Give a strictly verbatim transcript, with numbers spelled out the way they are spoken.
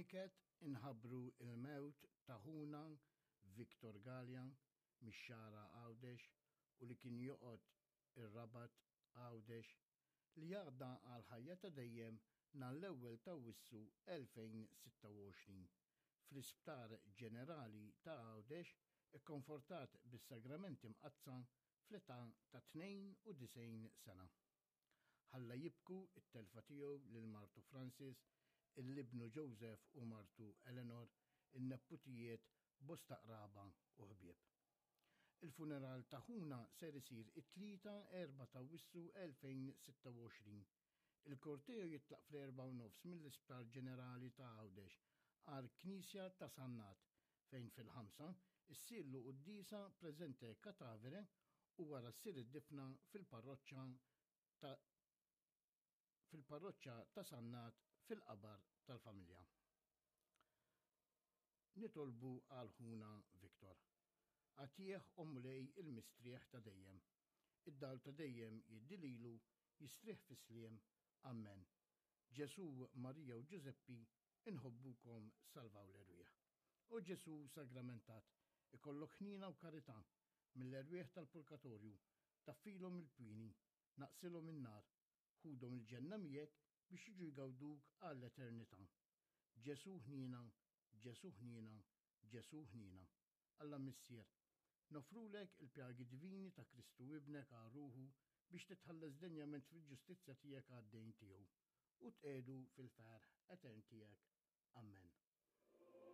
B'niket inħabbru l-mewt ta' ħuna Victor Galea mix-Xagħra Għawdex u li kien joqgħod ir-Rabat Għawdex li għadda għall-ħajja ta' dejjem nhar l-ewwel t'Awwissu elfejn sitta u għoxrin fl-Isptar Ġenerali ta' Għawdex ikkonfortat bis-Sagramenti Mqaddsa fl-età ta' tnejn u disgħin sena. Ħalla jibku t-telfa tiegħu lil martu Francis, il-ibnu Joseph u martu Eleanor, in-nepputijiet, bosta qraba u ħbieb. Il-funeral ta' ħuna ser isir it-Tlieta erba' ta' Awwissu elfejn sitta u għoxrin. Il-korteo jitlaq fl-erbgħa u nofs mill-Isptar Ġenerali ta' Għawdex għal Knisja ta' Sannat fejn fil-ħamsa issirlu quddiesa presente catavere u wara ssir id-difna fil-parroċċa ta' fil-parroċċa ta' Sannat fil-qabar tal-familja. Nitolbu għal ħuna Victor. Għatih o Mulej il-mistrieħ ta' dejjem. Id-dawl ta' dejjem jiddi lilu, jistrieħ fis-sliem. Amen. Ġesu, Marija u Ġużeppi, inħobbukom, salvaw l-erwieħ. O Ġesu sagramentat, ikollok ħniena u karità mill-erwieħ tal-purgatorju, taffilhom il-pwini, naqsilhom in-nar, ħudhom il-ġenna miegħek biex jiġu jgawduk għall-eternità. Ġesu ħniena, Ġesu ħniena, Ġesu ħniena. Alla Missier, nofrulek il-pjagi divini ta' Kristu ibnek għal ruħu biex titħalles denjament fil-ġustizzja tiegħek għad-dejn tiegħu u tqegħdu fil-ferħ etern tiegħek. Amen.